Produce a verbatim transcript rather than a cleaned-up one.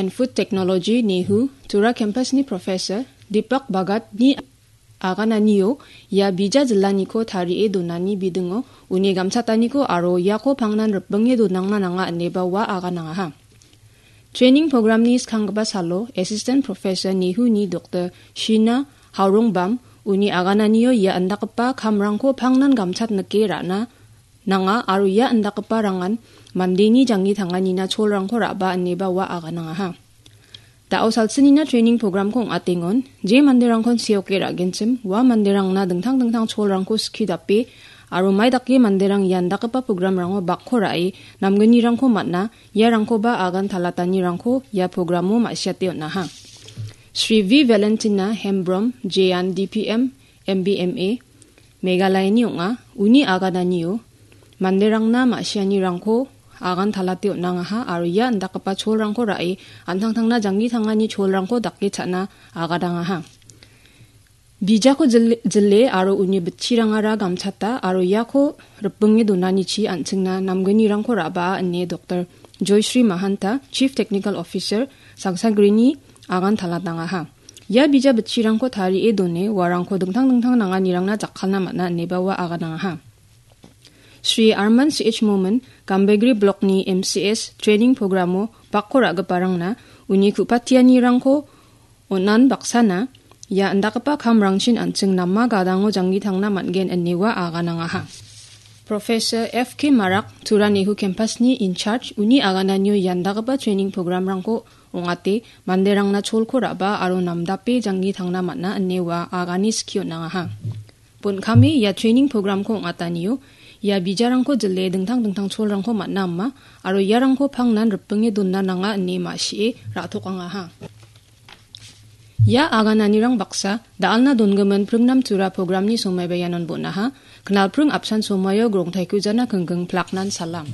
Food Technology, NEHU, Tura campus-ni professor Deepak Bhagat-ni agananio ia bija jillaniko tarie donani bidingo uni gamchataniko aro iako pangnan ripbinge donangna nanga ineba ua aganangaha. Training program-ni skanggipa salo Assistant Professor NEHU-ni Doktor Shina Haorongbam uni agananio ia indakgipa kamrangko pangnan gamchatnike ra·na nanga aro ia indakgipa rangan mandeni janggi tanganina cholrangko ra·ba ineba ua aganangaha. Da·o salsinina training program-ko ong·atengon, je manderangkon seoke ra·genchim, ua manderangna dingtang dingtang cholrangko skie dape, aro mai dake manderang ia indakgipa program-rango bakko ra·e, namgnirangko man·a, iarangkoba agan talatanirangko ia program-o ma·siate on·aha. Shri V Valentina Hembrom, Jean D P M, M B M A, Meghalayani ong·a. Uni agananio manderangna ma·sianirangko agan talate on·angaha aro ia indakgipa cholrangko ra·e, an·tangtangna janggi tangani cholrangko dake cha·na agadangaha. Bijako jil-, jile aro uni bitchirangara gamchata aro iako ripbinge donanichi an·chingna namgnirangko ra·baa ine Doktor Joyshri Mahanta, Chief Technical Officer, Sangsagrini agan talatangaha. Ia bija bitchirangko tarie done, uarangko dingtang dingtang nanganirangna jakkalna man·a ineba ua aganangaha. Shri Arman C H Momin, Gambegre Block-ni M C S training program-o bakko ra·giparangna uni ku·patianirangko on·an baksana ia indakgipa kamrangchin an·ching nama gadango janggi tangna man·gen ine ua aganangaha. Professor F K Marak, Tura NEHU campus-ni in charge, uni agananio ia indakgipa training program-rangko ong·ate manderangna cholko ra·ba aro namdape janggi tangna man·a ine ua agane skie on·angaha. Bon kame ia training program-ko ong·atanio ia bijarangko jile dingtang dingtang cholrangko man·a ama aro iarangko pangnan ripbinge donna nanga ine ma·sie ra·tokangaha. Ia agananirang baksa da·alna dongimin pringnam tura program-ni somaiba ianon bon·aha. Knalpring apsan somaio grongtaiko jana kengkeng plaknan salam.